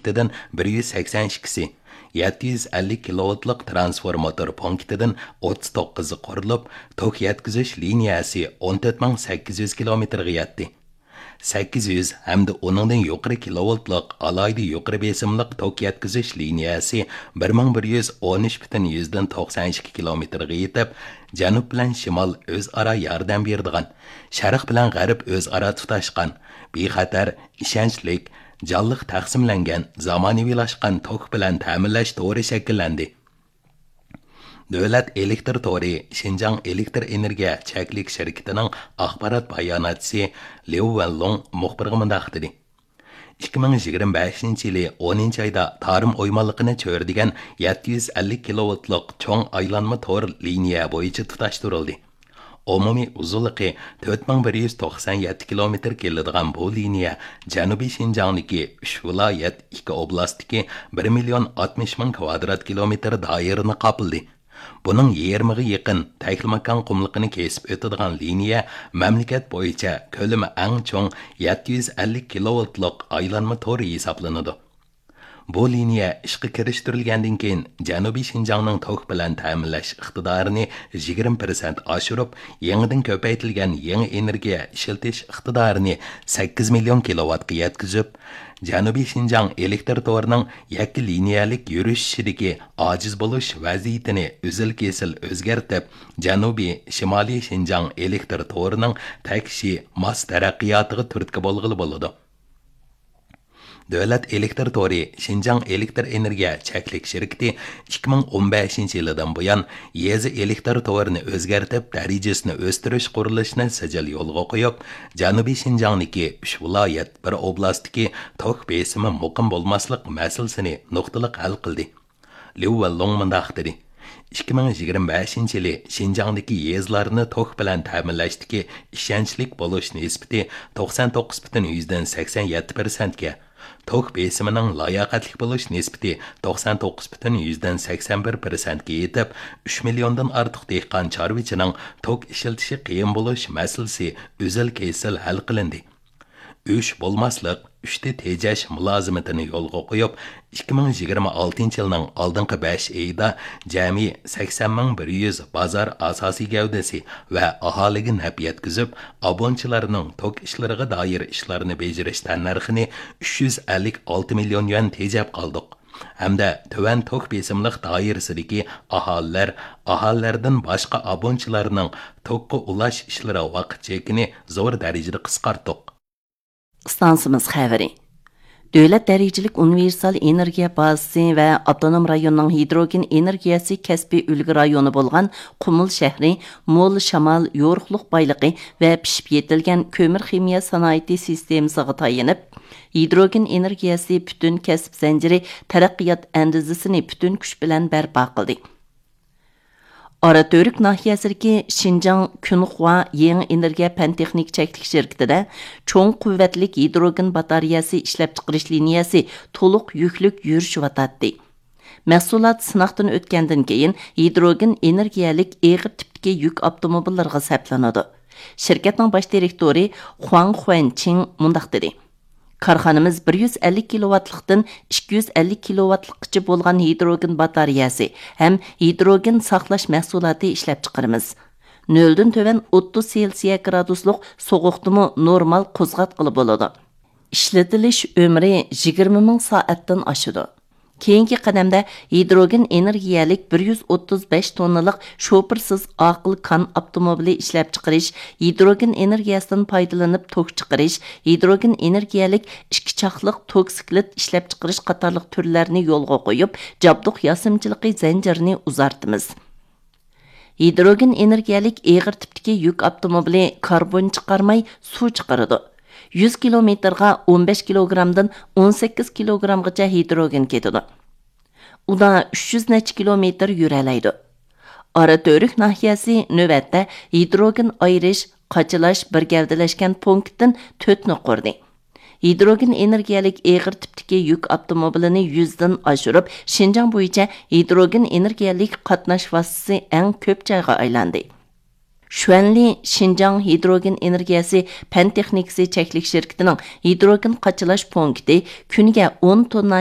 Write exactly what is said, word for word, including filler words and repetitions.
پونكىتىدىن بىر يۈز سەكسەن ئىككىسى، يەتتە يۈز ئەللىك كىلوۋولتلۇق ترانسفورماتور پونكىتىدىن ئوتتۇز توققۇزى قۇرۇلۇپ، توك يەتكۈزۈش لىنىيەسى ئون تۆت مىڭ سەككىز يۈز كىلومېتىرغا يەتتى. سەككىز يۈز ھەمدە ئۇنىڭدىن يۇقىرى كىلوۋولتلۇق ئالاھىدە يۇقىرى بېسىملىق توك يەتكۈزۈش لىنىيەسى بىر مىڭ بىر يۈز ئون ئۈچ پۈتۈن يۈزدىن توقسان ئىككى كىلومېتىرغا يېتىپ، جەنۇب بىلەن شىمال ئۆزئارا ياردەم بېرىدىغان، شەرق بىلەن غەرب ئۆزئارا تۇتاشقان، بىخەتەر، ئىشەنچلىك، جانلىق تەقسىملەنگەن، زامانىۋىلاشقان توك بىلەن تەمىنلەش تورى شەكىللەندى. دۆلەت ئېلېكتىر تورى شىنجاڭ ئېلېكتىر ئېنېرگىيە چەكلىك شىركىتىنىڭ ئاخبارات باياناتچىسى ليۇ ۋېنلۇڭ مۇخبىرغا مۇنداق دېدى: «ئىككى مىڭ يىگىرمە بەشىنچى يىلى ئونىنچى ئايدا تارىم ئويمانلىقىنى چۆرىدىگەن يەتتە يۈز ئەللىك كىلوۋولتلۇق چوڭ ئايلانما تور لىنىيە بويىچە تۇتاشتۇرۇلدى. ئومۇمىي ئۇزۇنلۇقى تۆت مىڭ بىر يۈز توقسان يەتتە كىلومېتىر كېلىدىغان بۇ لىنىيە جەنۇبىي شىنجاڭدىكى ئۈچ ۋىلايەت، ئىككى ئوبلاستتىكى بىر مىليون ئاتمىش مىڭ كىۋادرات كىلومېتىر دائىرىنى قاپلىدى. بۇنىڭ يېرىمىغا يېقىن تەكلىماكان قۇملۇقىنى كېسىپ ئۆتىدىغان لىنىيە مەملىكەت بويىچە كۆلىمى ئەڭ چوڭ يەتتە يۈز ئەللىك كىلوۋولتلۇق ئايلانما تور ھېسابلىنىدۇ. بۇ لىنىيە ئىشقا كىرىشتۈرۈلگەندىن كېيىن، جەنۇبىي شىنجاڭنىڭ توك بىلەن تەمىنلەش ئىقتىدارىنى يىگىرمە پىرسەنت ئاشۇرۇپ، يېڭىدىن كۆپەيتىلگەن يېڭى ئېنېرگىيە ئىشلىتىش ئىقتىدارىنى سەككىز مىليون كىلوۋاتقا يەتكۈزۈپ، جەنۇبىي شىنجاڭ ئېلېكتىر تورىنىڭ يەككە لىنىيەلىك يۈرۈشۈشىدىكى ئاجىز بولۇش ۋەزىيىتىنى ئۈزۈل-كېسىل ئۆزگەرتىپ، جەنۇبىي، شىمالىي شىنجاڭ ئېلېكتىر تورىنىڭ تەكشى، ماس تەرەققىياتىغا تۈرتكە بولغىلى بولىدۇ.» دۆلەت ئېلېكتىر تورى شىنجاڭ ئېلېكتىر ئېنېرگىيە چەكلىك شىركىتى ئىككى مىڭ ئون بەشىنچى يىلىدىن بۇيان، يېزا ئېلېكتىر تورىنى ئۆزگەرتىپ، دەرىجىسىنى ئۆستۈرۈش قۇرۇلۇشىنى سىجىل يولغا قويۇپ، جەنۇبىي شىنجاڭدىكى ئۈچ ۋىلايەت، بىر ئوبلاستتىكى توك بېسىمى مۇقىم بولماسلىق مەسىلىسىنى نۇقتىلىق ھەل قىلدى. ليۇ ۋېنلۇڭ مۇنداق دېدى: «ئىككى مىڭ يىگىرمە بەشىنچى يىلى شىنجاڭدىكى يېزىلارنى توك بىلەن تەمىنلەشتىكى ئىشەنچلىك بولۇش نىسبىتى توقسان توققۇز پۈتۈن يۈزدىن سەكسەن يەتتە پىرسەنتكە، توك بېسىمىنىڭ لاياقەتلىك بولۇش نىسبىتى توقسان توققۇز پۈتۈن يۈزدىن سەكسەن بىر پىرسەنتكە يېتىپ، ئۈچ مىليوندىن ئارتۇق دېھقان چارۋىچىنىڭ توك ئىشلىتىشى قىيىن بولۇش مەسىلىسى ئۈزۈل-كېسىل ھەل قىلىندى.» ئۈچ بولماسلىق، ئۈچتە تېجەش مۇلازىمىتىنى يولغا قويۇپ، ئىككى مىڭ يىگىرمە ئالتىنچى يىلنىڭ ئالدىنقى بەش ئېيىدا جەمئىي سەكسەن مىڭ بىر يۈز بازار ئاساسىي گەۋدىسى ۋە ئاھالىگە نەپ يەتكۈزۈپ، ئابۇنىچىلارنىڭ توك ئىشلىرىغا دائىر ئىشلارنى بېجىرىش تەننەرخىنى ئۈچ يۈز ئەللىك ئالتە مىليون يۈەن تېجەپ قالدۇق. ھەمدە تۆۋەن توك بېسىملىق دائىرىسىدىكى ئاھالىلەر، ئاھالىلەردىن باشقا ئابۇنىچىلارنىڭ توكقا ئۇلاش ئىشلىرى ۋاقىت چېكىنى زور دەرىجىدە قىسقارتتۇق. ئىستانسىمىز خەۋىرى. دۆلەت دەرىجىلىك ئۇنىۋېرسال ئېنېرگىيە بازىسى ۋە ئاپتونوم رايوننىڭ ھىدروگېن ئېنېرگىيەسى كەسپىي ئۈلگە رايونى بولغان قۇمۇل شەھىرى مول شامال، يورۇقلۇق بايلىقى ۋە پىشىپ يېتىلگەن كۆمۈر خىمىيە سانائىتى سىستېمىسىغا تايىنىپ، ھىدروگېن ئېنېرگىيەسى پۈتۈن كەسىپ زەنجىرى تەرەققىيات ئەندىزىسىنى پۈتۈن كۈچ بىلەن بەرپا قىلدى. ئاراتۈرك ناھىيەسىدىكى شىنجاڭ كۈنخۇا يېڭى ئېنېرگىيە پەن تېخنىكا چەكلىك شىركىتىدە چوڭ قۇۋۋەتلىك ھىدروگېن باتارېيەسى ئىشلەپچىقىرىش لىنىيەسى تولۇق يۈكلۈك يۈرۈشۈۋاتاتتى. مەھسۇلات سىناقتىن ئۆتكەندىن كېيىن، ھىدروگېن ئېنېرگىيەلىك ئېغىر تىپتىكى يۈك ئاپتوموبىللىرىغا سەپلىنىدۇ. شىركەتنىڭ باش دىرېكتورى خۇاڭ خۇەنچىڭ مۇنداق دېدى: «كارخانىمىز بىر يۈز ئەللىك كىلوۋاتلىقتىن ئىككى يۈز ئەللىك كىلوۋاتلىققىچە بولغان ھىدروگېن باتارېيەسى ھەم ھىدروگېن ساقلاش مەھسۇلاتى ئىشلەپچىقىرىمىز. نۆلدىن تۆۋەن ئوتتۇز سېلسىيە گرادۇسلۇق سوغۇقتىمۇ نورمال قوزغاتقىلى بولىدۇ. ئىشلىتىلىش ئۆمرى يىگىرمە مىڭ سائەتتىن ئاشىدۇ.» كېيىنكى قەدەمدە ھىدروگېن ئېنېرگىيەلىك بىر يۈز ئوتتۇز بەش توننىلىق شوپۇرسىز ئاقىل كان ئاپتوموبىلى ئىشلەپچىقىرىش، ھىدروگېن ئېنېرگىيەسىدىن پايدىلىنىپ توك چىقىرىش، ھىدروگېن ئېنېرگىيەلىك ئىككى چاقلىق توكسىكلىت ئىشلەپچىقىرىش قاتارلىق تۈرلەرنى يولغا قويۇپ، جابدۇق ياسىمىچىلىقى زەنجىرىنى ئۇزارتىمىز. ھىدروگېن ئېنېرگىيەلىك ئېغىر تىپتىكى يۈك ئاپتوموبىلى كاربون چىقارماي، سۇ چىقىرىدۇ. يۈز كىلومېتىرغا ئون بەش كىلوگرامدىن ئون سەككىز كىلوگرامغىچە ھىدروگېن كېتىدۇ. ئۇدا ئۈچ يۈز نەچچە كىلومېتىر يۈرەلەيدۇ. ئاراتۈرك ناھىيەسى نۆۋەتتە ھىدروگېن ئايرىش، قاچىلاش، بىر گەۋدىلەشكەن پونكىتتىن تۆتنى قۇردى. ھىدروگېن ئېنېرگىيەلىك ئېغىر تىپتىكى يۈك ئاپتوموبىلىنى يۈزدىن ئاشۇرۇپ، شىنجاڭ بويىچە ھىدروگېن ئېنېرگىيەلىك قاتناش ۋاسىتىسى ئەڭ كۆپ جايغا ئايلاندى. شۈەنلى شىنجاڭ ھىدروگېن ئېنېرگىيەسى پەن تېخنىكىسى چەكلىك شىركىتىنىڭ ھىدروگېن قاچىلاش پونكىتى كۈنىگە ئون توننا